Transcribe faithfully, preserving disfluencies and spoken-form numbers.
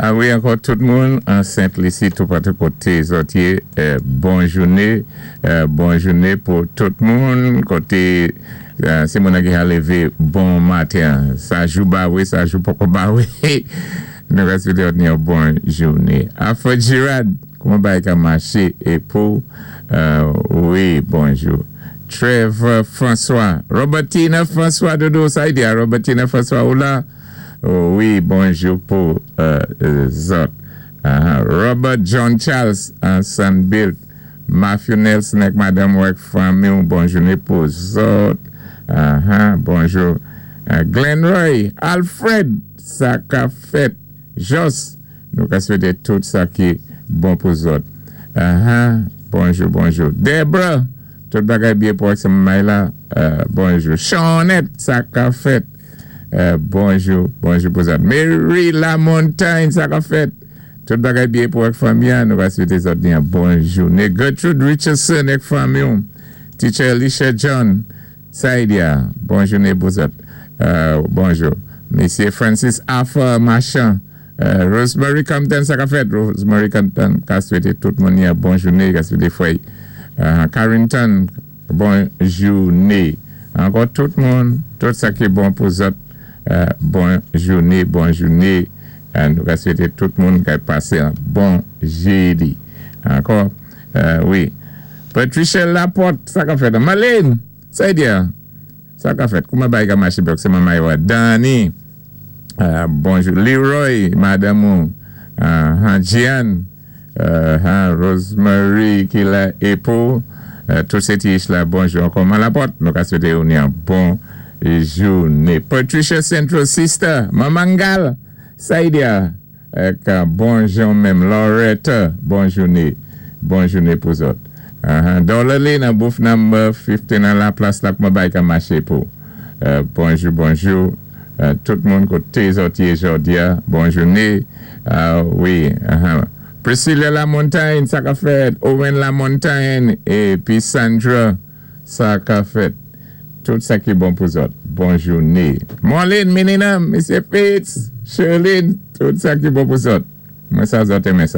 A wi, ankò tout moun an Sent Lisi, tou patou koté zòt yé, bon jouné, bon jouné pou tout moun, koté sé moun ki a lévé bon maten. Sa jou ba wé, sa jou poko ba wé. Nou ka swété ni yon bon jouné. Alfred Girard, kouman bagay ka maché é pou, wi, bonjou. Trevor François, Robertina François, Dodo, sa y di a Robertina François ou la? Wi, bonjou pou zòt. Robert John Charles, an Sunbuilt. Matthew Nelson ek Madame Wek fanmi, bon jouné pou zòt. Bonjou. Glenn Roy, Alfred, sa ka fèt. Jos, nou ka swété tout sa ki bon pou zòt. Bonjou, bonjou. Debra, tout bagay byen pou ak se may la. Bonjou. Seanette, sa ka fèt. Bonjou, bonjou pou zòt. Mary LaMontagne, sa ka fèt. Tout bagay byen pou ak fanmi an, nou ka swété zòt ni bon jouné. Gertrude Richardson ek fanmi an. Teacher Alicia John, Saidia, bon jouné pou zòt. Bonjou. Mesye Francis Arthur Marchand, Rosemary Compton, sa ka fèt. Rosemary Compton, ka swété tout moun ni bon jouné, ka swété fway. Carrington, bon jouné. Ankò tout moun, tout sa ki bon pou zòt, bon jouné, bon jouné. Nou ka swété tout moun ka pasé an bon jédi. Ankò, wi. Patricia Laporte, sa ka fèt. Marlene, sa y di a? Sa ka fèt. Kouman bagay ka maché bòk, sé manman yo. Danny, bonjou. Leroy, madame ou. Jeanne, Rosemary ki la epou. Tout sé ti la, bonjou ankò. Man Laporte, nou ka swété ou ni an bon jouné. Patricia Central Sister, Mamangal, sa y di a? Bonjou menm. Loretta, bon jouné. Bon jouné pou zòt. Dollar nan booth number fifteen nan la plas la, kouman bagay ka maché pou. Bonjou, bonjou. Tout moun koté zòt yé jòdi a. Bon jouné. Wi. Priscilla LaMontagne, sa ka fèt. Owen LaMontagne, épi Sandra, sa ka fèt. Tout sa ki bon pou zòt. Bon jouné. Marlene Menina, Mesye Fitz, Sherlyn, tout sa ki bon pou zòt. Mwen sa zòt enmen sa.